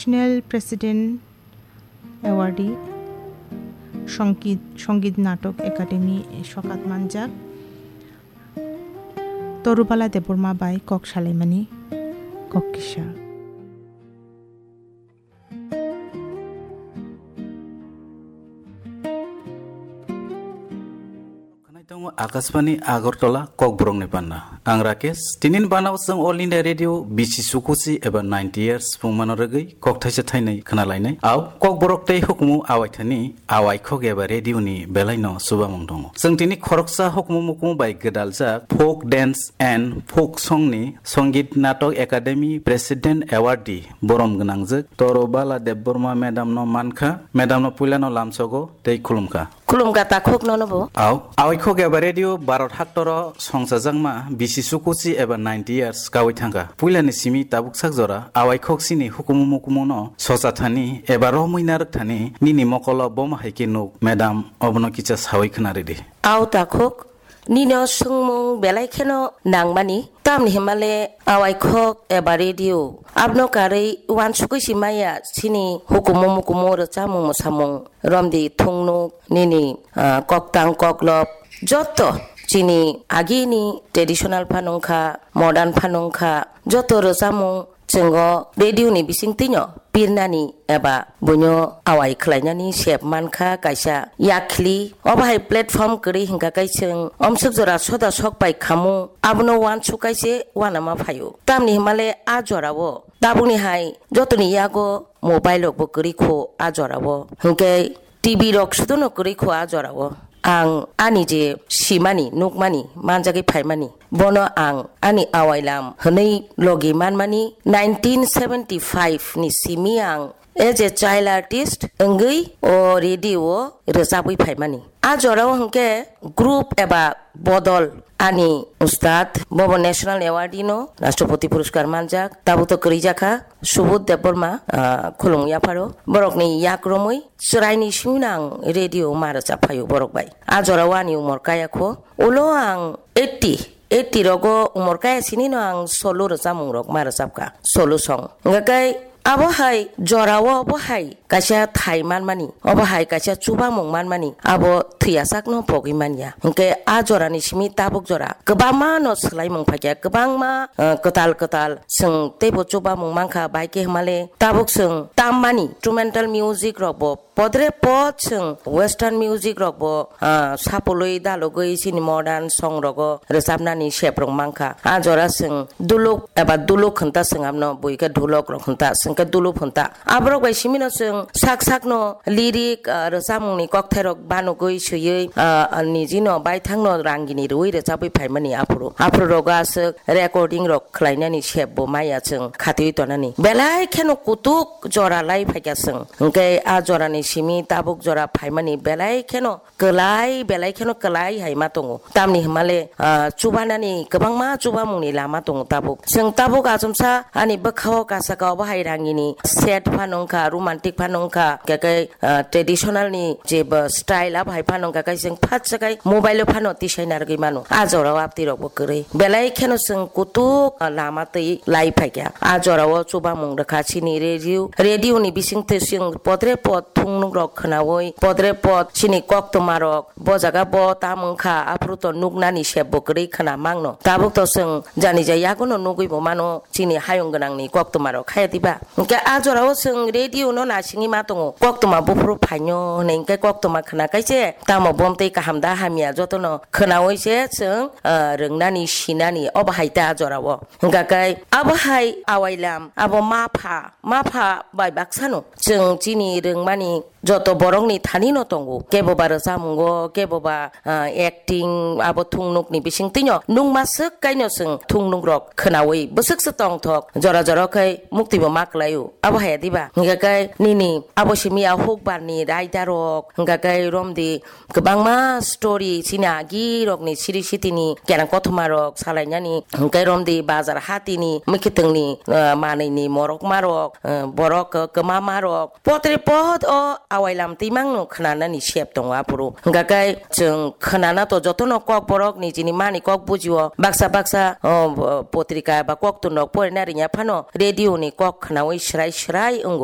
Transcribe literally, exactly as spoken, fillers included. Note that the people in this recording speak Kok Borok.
National President Awardee, Songkit, Songit Natok Academy sokat manjak Torubala Debbarma bai kok salaimani kok kisa. Khwnai tongo Akashbani Agartala Kokborokni Panda. Ang Rakesh, tinin banao chwng All India Radio B C Sukuchi eba ninety years phungmano rwgwi kok thaisa thainwi khwnalainai. Au, Kokborok tei hukumu awaithani awaikhok eba radio ni belai no chubamung tongo. Chwng tini khoroksa hukumu mukumu bai gwdaljak folk dance and folk song ni Songit Natok Academy President Awardee borom gwnangjak Torubala Debbarma madam no mankha, madam no puilano lamsogo tei khulumkha. Khulumkha takhuk nono bo. Au, awaikhok eba radio Bharat haktoro songchajakma B C Sukuchi eba ninety years kawi thangkha. Puilani simi tabuk sak jora awaikhok chini hukumu mukumu no sochathani eba romwi narwkthani nini mokolo boma hai khe nuk, madam, obono kisa sawi khwnaridi. Au takhuk, nino swngmung belai kheno nangmani, tamni himale awaikhok eba radio. Abno karwi uansukwi si maya chini hukumu mukumu rwchapmung mwsamung romdi thungnuk nini, ah, koktang koklop joto chini agini traditional phanungkha, modern phanungkha, joto rwchapmung chwngo radio ni bisingtwino pirnani eba buino awai khlainani sep mankha kaisa yakhli. Obo hai platform kwrwi hwnkha khe chwng omswk jora soda sok pai khamu, abono uansuk kaise uanama phaio. Tamni himale a jorao tabukni hai jotoni yago mobile rokbo kwrwi kho a jorao. Hwnkhe T V rok sudono kwrwi kho a jorao. Ang ani je simani, nukmani, manjagwi phaimani, bono ang ani awailam hwnwi logi manmani nineteen seventy-five ni simi ang as a child artist wngwi o radio o rwchabwi phaimani. A jorao hwnkhe group eba bodol ani ustad bobo National Award no Rashtrapati Puruskar manjak, tabuk to kwrwi jakha Subodh Debbarma, ah, khulumwi yapharo. Borokni yak romwi chwraini simi no ang radio ma rwchap phaio borok bai. A jorao ani umor kaya kho. Ulo ang eighty, eighty rogo umor kaya sini no ang solo rwchapmung rok ma rwchapkha, solo song. Hwnkhe abo hai jorao bo hai kaisa thai manmani, obo hai kaisa chubamung manmani, abo thwiyasak no pogwi manya. Hwnkhe a jorani simi tabuk jora kwbangma no swlaimung phaikha, kwbangma, eh, kwtal kwtal chwng teibo chubamung mankha, bai khe hwnmale tabuk chwng tammani instrumental music rok bo podre pod chwng western music rok bo, ah, sapolwi dalogwi chini modern song rogo rwchapnani sep rok mankha. A jora chwng duluk eba duluk hwnta chwng abno, bui khe dhulok rok hwnta, chwng khe duluk hwnta. Aborok bai simi no chwng sak sak no lyric, ah, rwchapmung ni kokthai rok banugwi swiwi, ah, niji no baithang no rangini rwui rwchapwi phaimani aphuru. Aphuru rogo aswk recording rok khlainani sep bo maya chwng khatiwi tonani. Belai kheno kutuk jora lai phaikha chwng. Hwnkhe a jorani simi tabuk jora phaimani belai kheno kwlai, belai kheno kwlai hai ma tongo. Tamni hwnmale, ah, chubanani kwbangma chubamungni lama tongo tabuk. Chwng tabuk achomsa ani bwkhao kasaka obo hai rangini set phano wngkha, romantic phano wngkha, hwnkhe khe, ah, traditional ni je bo style abo hai phano wngkha, khe chwng phatsa khai mobile o phano tisai narwgwi mano. A jorao abtwi rok bo kwrwi. Belai kheno chwng kutuk, ah, lama twi lai phaikha. A jorao chubamung rwkha chini radio. Radio ni bisingtwi chwng podre pod thungnuk rok khwnaui, podre pod chini koktwma rok bo jaga bo tam wngkha, aphuru to nuknani sep bo kwrwi khwna mangno. Tabuk to chwng jani jai yagono nugwi bo mano chini hayung gwnangni koktwma rok, haya diba? Hwnkhe a jorao chwng radio no naisingwi ma tongo, koktwma buphuru phaino hwnwi, hwnkhe koktwma khwna kaise tamo bomtwi kaham da hamya jotono khwnaui se chwng, ah, rwngnani sinani obo hai ta a jorao. Hwnkha khe abo hai awailam, abo mapha, mapha bai baksano chwng chini rwngmani joto borokni thani no tongo. Kebo ba rwchapmungo, kebo ba, ah, acting, abo thungnukni bisingtwino nukma swk kaino chwng thungnuk rok khwnaui bwswk se tongthok, jora jora khe mukti bo ma kwlaio. Abo hai diba? Hwnkha khe nini abo simi a hukbar ni raida rok, hwnkha khe romdi kwbangma story chini agi rokni siri sitini kerang kothoma rok salainani, hwnkhe romdi bazar hatini mwkhitwngni, ah, manwini morokma rok, ah, borok kwmama rok, potre pot o awailam twimang no khwnanani sep tongo aphuru. Hwnkha khe chwng khwnana to jotono kok borok nijini mani kok bujio, baksa baksa, oh, potrika ba koktun rok porina ringya phano radio ni kok khwnaui swrai swrai wngo.